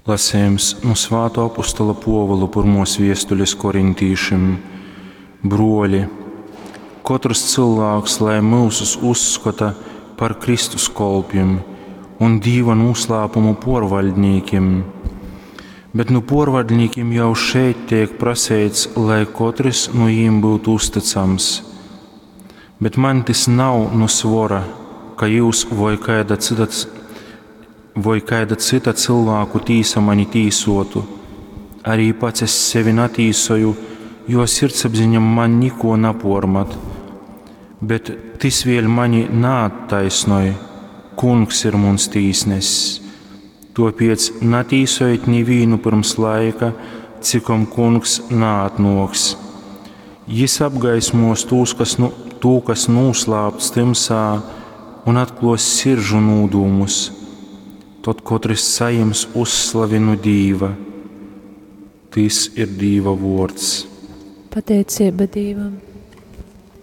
Lasejums nu Svātuo apustola Puovula pyrmuos viestulis korintīšim. Bruoli, kotrs cylvāks lai myusus uzskota par Kristus kolpim un Dīva nūslāpumu puorvaļdnīkim. Bet nu puorvaļdnīkim jau šeit teik praseits, lai kotrys nu jim byutu uztycams. Bet maņ tys nav nu svora, ka jyus voi kaida cyta, voi kaida cyta cylvāku tīsa mani tīsuotu. Arī pats es sevi natīsoju, jo sirdsapziņa man nikuo napuormat. Bet tys vēļ mani naattaisnoj. Kungs ir muns tīsnesis. Tuopiec natīsojit nivīnu pyrms laika, cikom kungs naatnuoks. Jis apgaismuos tūs, kas nu, tū, kas nūslāpts tymsā, un atkluos siržu nūdūmus. Tod kotrs sajims uzslavi nu Dīva. Tys ir Dīva vuords. Pateicība Dīvam!